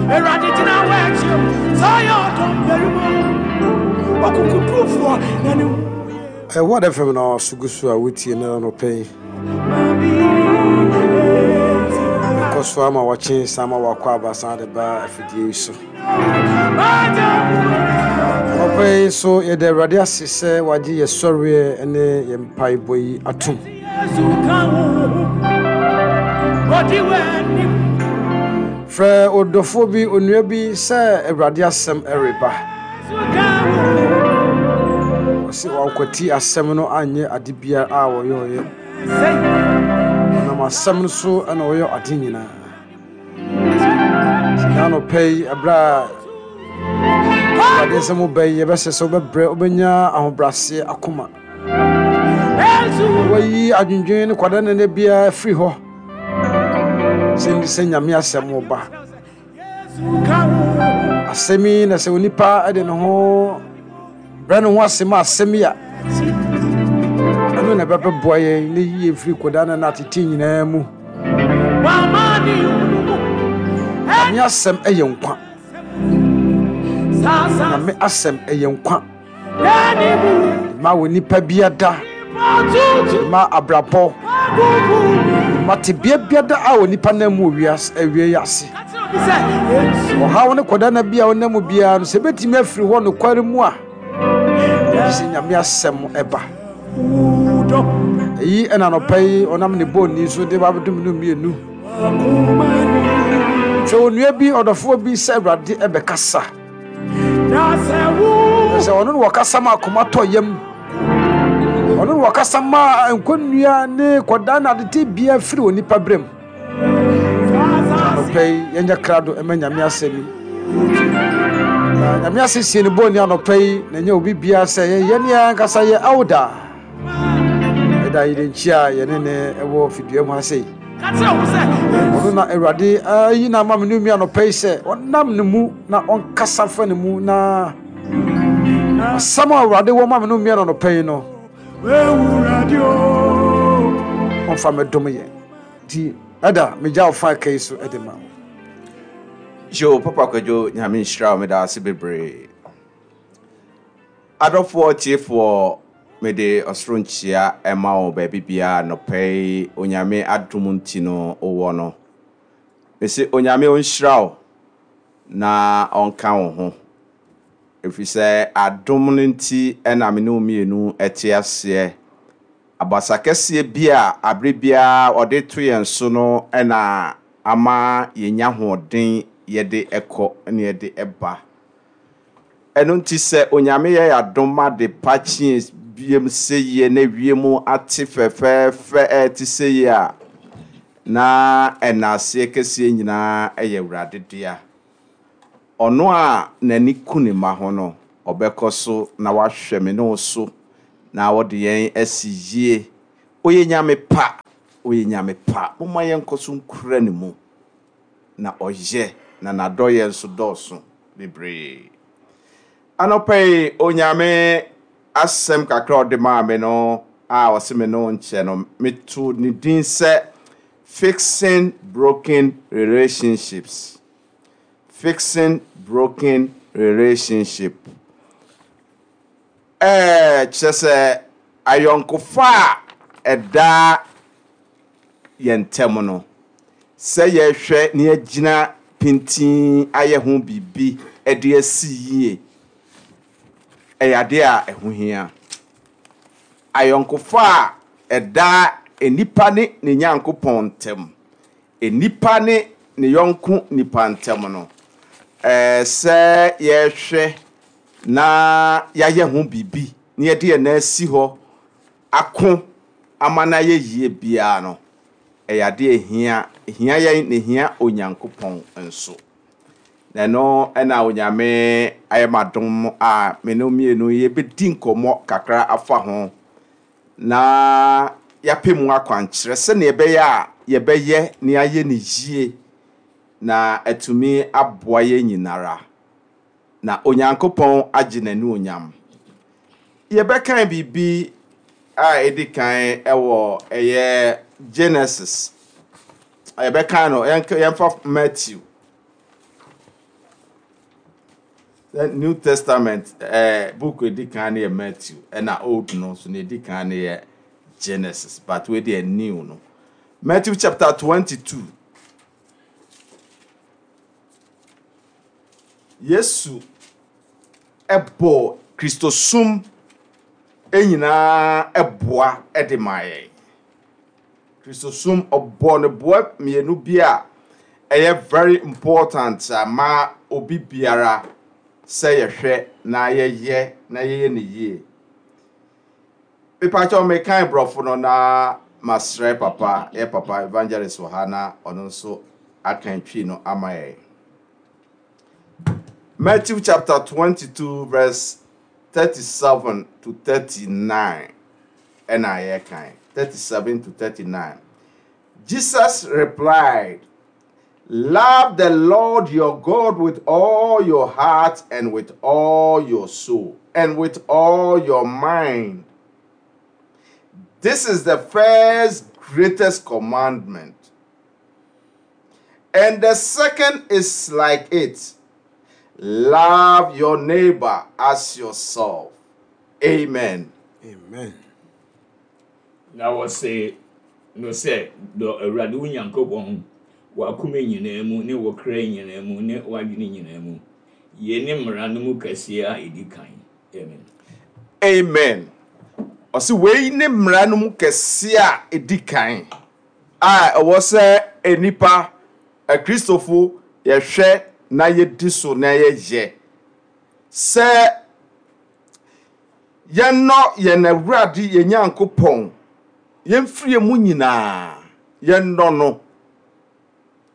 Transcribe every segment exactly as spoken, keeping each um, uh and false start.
Awurade gyina w'akyi o, sɛ ɔyɛ ɔdɔm barima o, ɔkokodurufoɔ na ne ho yɛ. Ɛwɔ F M no so gu so a wotie no anɔpɛ yi. Ɛkɔ so ama wɔkye san ma wakɔ aba san de ba afidie yi so. Anɔpɛ yi so, yɛda Awurade ase sɛ wagye yɛ sɔreɛ ne yɛ mpaebɔ yi atom. Yesu ka wo ho, ɔdi w'anim. Frɛ ɔdɔfoɔ bi, onua bi, sɛ Awurade asɛm ɛreba. Yesu ka wo ho. Ɔse wankwati asɛm no anyɛ ade biara a wɔyɛɔyɛ. Sɛ ɔnam asɛm no so ɛna ɔyɛ ade nyinaa. Na anɔpɛ yi, ɛberɛ a Awurade nsɛm wo ba yi, yɛbɛsɛ sɛ wobɛbrɛ, wobɛnya ahobrɛaseɛ akoma. Yesu. Wayi adwendwen ne kwada nene biara firi hɔ sɛ ndi sɛ Nyame asɛm wo ba. Yesu ka wo ho. Asɛm yi na sɛ onipa de ne ho brɛ ne ho ase ma asɛm yi a, ɛno na ɛbɛbɛboa yɛn ne yie firi kwadaa ne atete nyinaa mu. Wama ne hunu mu. Nyame asɛm ɛyɛ nkwa. Saa saa. Nyame asɛm ɛyɛ nkwa. N'ani mu. Ma wɔ nipa biada, Tutu. ma abrabɔ, Agugu. ma tebea biada a onipa nam mu wɔ wiase awie yi ase. Ka kyerɛ obi sɛ Yesu. Ɔhaw ne kɔda na bi a wonam mu biara no, sɛ ɛbɛtumi afiri hɔ nokware mu a, gye sɛ Nyame asɛm ɛba. Wudɔ. Ɛyi ɛna anɔpa yi ɔnam ne bɔɔni so de babɛdom no mmienu. Akoma ni. Hwɛ onua bi, ɔdɔfoɔ bi, sɛ Awurade ɛbɛkasa. Na sɛ wo. Sɛ ɔno ne wɔkasa ma akoma tɔ yam, ɔno ne wɔkasa ma nkɔnnua ne kɔda ne adete bia firi onipa berɛ mu. Anɔpa yi, yɛnyɛ krado ɛma Nyame asɛm yi. Na Nyame asɛ sie ne bɔɔni anɔpa yi na ɛnyɛ obi biara sɛ yɛyɛ ne yɛn ankasa yɛ awda ɛda yɛdenkyi a yɛne ne ɛwɔ fidua mu ha sei. Ka kyerɛ wo sɛ Ɔno na Awurade ayi na ama me no mi anɔpa yi sɛ ɔnam ne mu na ɔnkasa fa ne mu, na asɛm a Awurade wɔ ma me no mmea no anɔpa yi no, Ewurade o. ɔmfa mɛdom yɛn. Nti ɛda megya wo fa ka yi so de ma wo. Yo, Papa Kwadwo, Nyame nhyira wo, meda ase bebree. Adɔfoɔ tiefoɔ, mede ɔsoro nkyia ɛma wo baabi biara nɔpɛ yi Onyame adom nti no wowɔ no. Mese Onyame ɔnhyira wo na ɔnka wo ho. Ɛfiri sɛ adom no nti ɛna me ne wo mmienu ɛte aseɛ. Abasa kɛseɛ bi a abere biara ɔde to yɛn so no ɛna ama yɛnya ahoɔden yɛde ɛkɔ ne yɛde ɛba. Ɛno nti sɛ Onyame yɛ adom ade pa kyee biem sɛ yie na wiem ate fɛfɛɛfɛ ɛte sɛ yie a, na ɛna aseɛ kɛseɛ nyinaa ɛyɛ Awurade dea. Ɔno a n'ani ku ne mma ho no, ɔbɛkɔ so na wahwɛ me ne wo so na wɔde yɛn asi yie. Ɔyɛ Nyame pa, ɔyɛ Nyame pa. Momma yɛnkɔ so nkura ne mu na ɔyɛ na n'adɔyɛ nso dɔɔso bebree. Anɔpa yi, Onyame asɛm kakra a ɔde maa me no a ɔse me no nkyɛ no, meto ne din sɛ "Fixing Broken Relationships". Fixing broken relationship. Ɛɛ kyerɛ sɛ ayɔnkofa a ɛda yɛn ntam no, sɛ yɛhwɛ ne yɛgyina pintin ayɛ ho biribi de asi yie, ɛyɛ adeɛ a ɛho hia. Ayɔnkofa a ɛda nipa ne ne Nyankopɔn ntam, nipa ne ne yɔnko nipa ntam no, ɛɛ sɛ yɛhwɛ na yɛayɛ ho biribi na yɛde yɛn nan asi hɔ ako ama no ayɛ yie biara no, ɛyɛ adeɛ a ɛhia ɛhia yɛn na ɛhia Onyankopɔn nso. Na ɛno ɛna Onyame ayɛ m'adom a me ne wo mmienu yɛbɛdi nkɔmmɔ kakra afa ho na yɛapɛ mu akwankyerɛ sɛnea ɛbɛyɛ a yɛbɛyɛ na yɛayɛ no yie na atumi aboa yɛn nyinara na Onyankopɔn agye n'anuonyam. Yɛbɛkan biribi a ɛdi kan ɛwɔ ɛyɛ Genesis. Yɛbɛkan no, yɛnka- yɛmfa Matthew. New Testament eh, book edi kan no yɛ Matthew, ɛna Old no nso na edi kan no yɛ Genesis, but wei deɛ New no. Matthew chapter twenty-two. Yesu ɛbɔ Kristosum nyinaa ɛboa ɛde ma yɛn. Kristosum ɔbɔ ne boa mmienu bi a ɛyɛ very important ama obi biara sɛ yɛhwɛ na yɛyɛ na yɛyɛ ne yie. Mepakyɛw mekan borɔfo no na masrɛ papa, yɛ papa evangelist wɔ ha na ɔno nso aka twi no ama yɛn. Matthew chapter twenty-two verse thirty-seven to thirty-nine. Ɛna yɛkan thirty-seven to thirty-nine. Jesus replied, "Love the Lord your God with all your heart and with all your soul and with all your mind. This is the first greatest commandment. And the second is like it. Love your neighbor as yourself." Amen. Amen. Na wɔse no sɛ dɔ Awurade wo Nyankopɔn w'akoma nyinaa mu ne wo kra nyinaa mu ne w'adwene nyinaa mu. Yei ne mmara no mu kɛseɛ a ɛdi kan. Amen. Amen. Ɔse wei ne mmara no mu kɛseɛ a ɛdi kan a ɛwɔ sɛ nnipa Akristofo yɛhwɛ na yɛdi so na yɛyɛ. Sɛ yɛnnɔ yɛn Awurade yɛn Nyankopɔn, yɛmfiri mu nyinaa yɛnnɔ no.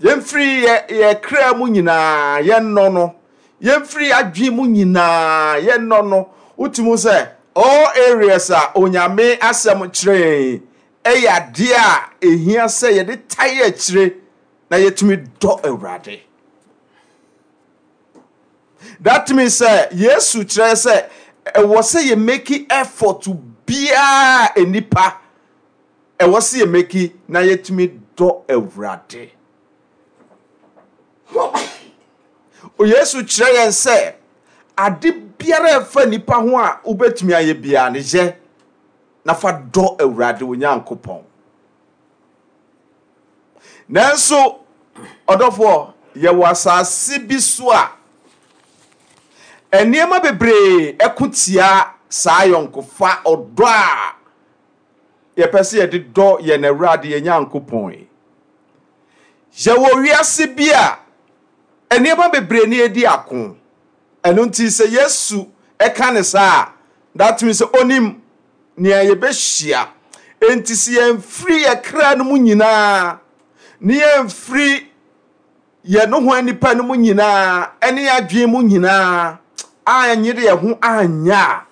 Yɛmfiri yɛ yɛ kra mu nyinaa yɛnnɔ no. Yɛmfiri adwene mu nyinaa yɛnnɔ no. Wotumi sɛ all areas a Onyame asɛm kyerɛ yɛn ɛyɛ adeɛ a ehia sɛ yɛde tae akyire na yɛtumi dɔ Awurade. That means sɛ Yesu kyerɛ sɛ ɛwɔ sɛ yɛ make effort biara nipa ɛwɔ sɛ yɛ make na yɛtumi dɔ Awurade. Yesu kyerɛ yɛn sɛ ade biara ɛfa nipa ho a wobɛtumi ayɛ biara no yɛ na fa dɔ Awurade wo Nyankopɔn. Nanso ɔdɔfoɔ, yɛwɔ asase bi so a nneɛma bebree ɛko tia saa yɔnkofa ɔdɔ a yɛpɛ sɛ yɛde dɔ yɛn Awurade yɛn Nyankopɔn yi. Yɛwɔ wiase bi a nneɛma bebree ne yɛdi ako. Ɛno nti sɛ Yesu ɛka ne saa a, that means sɛ onim nea yɛbɛhyia. Enti sɛ yɛmfiri yɛ kra no mu nyinaa ne yɛmfiri yɛn ho nipa no mu nyinaa ɛne adwene mu nyinaa anyere yɛn ho anya a,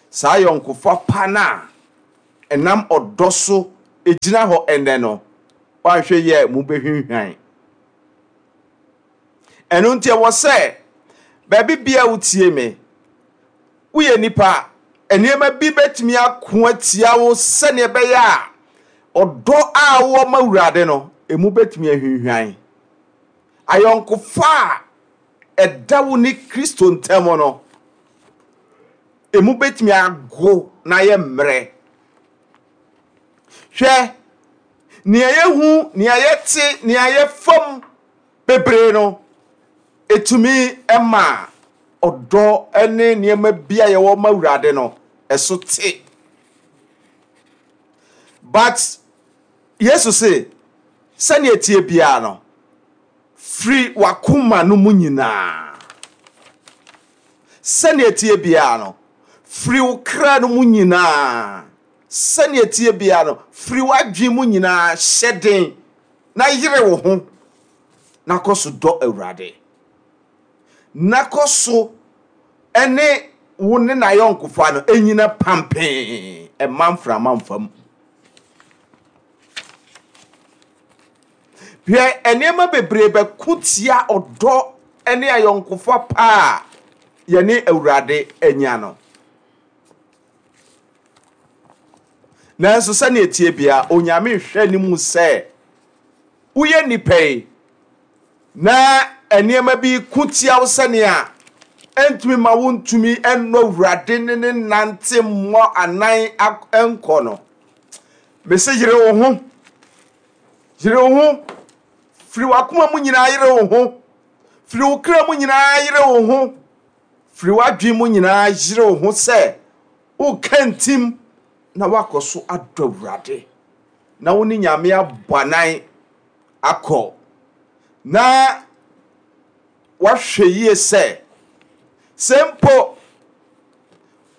saa yɔnkofa pa no a ɛnam ɔdɔ so egyina hɔ ɛnɛ no, woanhwɛ yɛ mu bɛhwinhwan. Ɛno nti ɛwɔ sɛ baabi bia wotie me, woyɛ nipa, nneɛma bi bɛtumi ako atia wo sɛnea ɛbɛyɛ a ɔdɔ a wowɔ ma Awurade no, emu bɛtumi ahwinhwan. Ayɔnkofa a ɛda wo ne Kristo ntam no, emu bɛtumi ago na ayɛ mmerɛ. Hwɛ, nea yɛhu, nea yɛte, nea yɛfam bebree no, etumi ɛma ɔdɔ ne nneɛma bi a yɛwɔ ma Awurade no, ɛso te. But Yesu se, sɛnea tie biara no, firi w'akoma no mu nyinaa. Sɛnea tie biara no, firi wo kra no mu nyinaa. Sɛnea tie biara no, firi w'adwene mu nyinaa hyɛ den na yere wo ho na kɔ so dɔ Awurade. Na kɔ so ɛne wo ne n'ayɔnkofa no ɛnyina pampee ɛma mframa mfam. Hwɛ, nneɛma bebree bɛko tia ɔdɔ ne ayɔnkofa pa a yɛne Awurade anya no. Nanso sɛnea tie bia, Onyame hwɛ ne mu sɛ woyɛ nipa yi na nneɛma bi ko tia wo sɛnea Ɛntumi ma wontumi ɛnnɔ Awurade ne ne nante mmɔ anan nkɔ no. Mese yere wo ho. Yere wo ho. Firi w'akoma mu nyinaa yere wo ho. Firi wo kra mu nyinaa yere wo ho. Firi w'adwene mu nyinaa yere wo ho sɛ woka ntim na woakɔ so adɔ Awurade. Na wo ne Nyame abɔ anan akɔ. Na wahwɛ yie sɛ sɛ mpo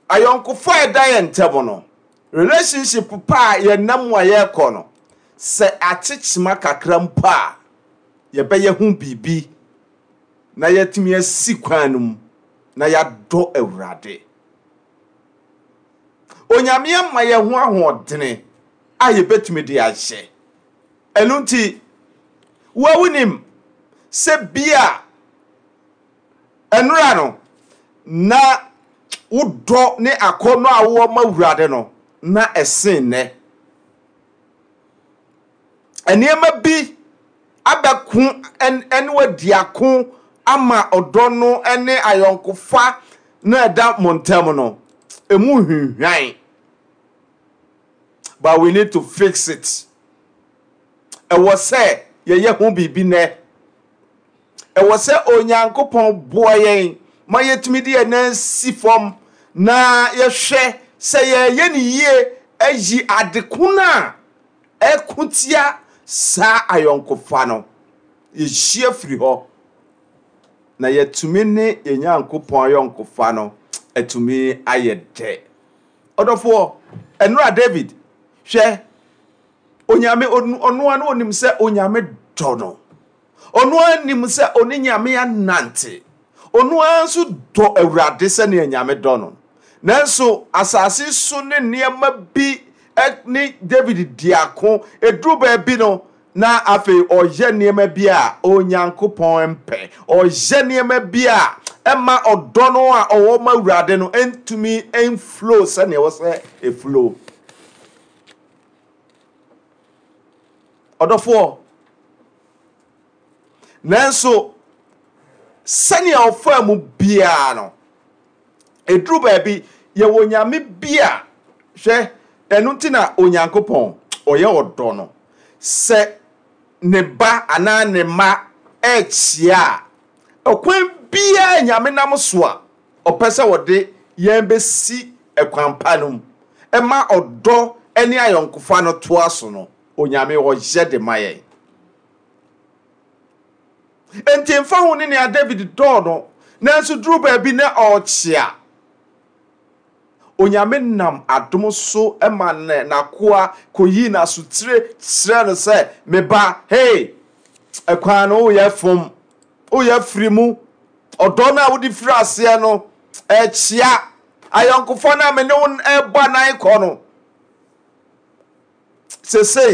ayɔnkofa a ɛda yɛn ntam no, relationship pa a yɛnam mu a yɛrekɔ no, sɛ akyekyema kakra mpo a, yɛbɛyɛ ho biribi na yɛatumi asi kwan no mu na yɛadɔ Awurade. Onyame ama yɛn ho ahoɔdene a yɛbɛtumi de ahyɛ. Ɛno nti, wo a wonim sɛ bia ɛnora no na wodɔ ne akɔnnɔ a wowɔ ma Awurade no na ɛsen nnɛ. Nneɛma bi abɛko ɛne wadi ako ama ɔdɔ no ne ayɔnkofa na ɛda mo ntam no, emu hwinhwan. But we need to fix it. Ɛwɔ sɛ yɛyɛ ho biribi nnɛ. Ɛwɔ sɛ Onyankopɔn boa yɛn ma yɛtumi de yɛn nan si fam na yɛhwɛ sɛ yɛyɛ ne yie ayi adeko no a ɛko tia saa ayɔnkofa no. Yɛhyia firi hɔ na yɛtumi ne yɛn Nyankopɔn ayɔnkofa no atumi ayɛ dɛ. Ɔdɔfoɔ, ɛnora David, hwɛ, Onyame, ɔno ara onim sɛ Onyame dɔ no. Ɔno ara nim sɛ ɔne Nyame anante. Ɔno ara nso dɔ Awurade sɛnea Nyame dɔ no. Nanso asase so ne nneɛma bi ne David di ako. Eduru baabi no, na afei ɔyɛ nneɛma bi a Onyankopɔn mpɛ. Ɔyɛ nneɛma bi a ɛma ɔdɔ no a ɔwɔ ma Awurade no ntumi mflow sɛnea ɛwɔ sɛ eflow. Ɔdɔfoɔ, nanso sɛnea ɔfaa mu biara no, eduru baabi yɛwɔ Nyame bi a hwɛ, ɛno nti na Onyankopɔn ɔyɛ ɔdɔ no. Sɛ ne ba anaa ne mma ɛrekyia a, ɔkwan biara Nyame nam so a ɔpɛ sɛ wɔde yɛn bɛsi ɛkwan pa no mu ɛma ɔdɔ ne ayɔnkofa no toa so no, Onyame ɔyɛ de ma yɛn. Enti mfa ho ne nea David dɔɔ no, nanso duru baabi na ɔrekyea. Onyame nam adom so ma ne n'akoa kɔyii n'asotire kyerɛ no sɛ, me ba, hey, ɛkwan no woyɛ fom, woyɛ firi mu, ɔdɔ no a wode firi aseɛ no, ɛkyea, ayɔnkofa no a me ne wo ɛbɔ anan kɔ no, sesei,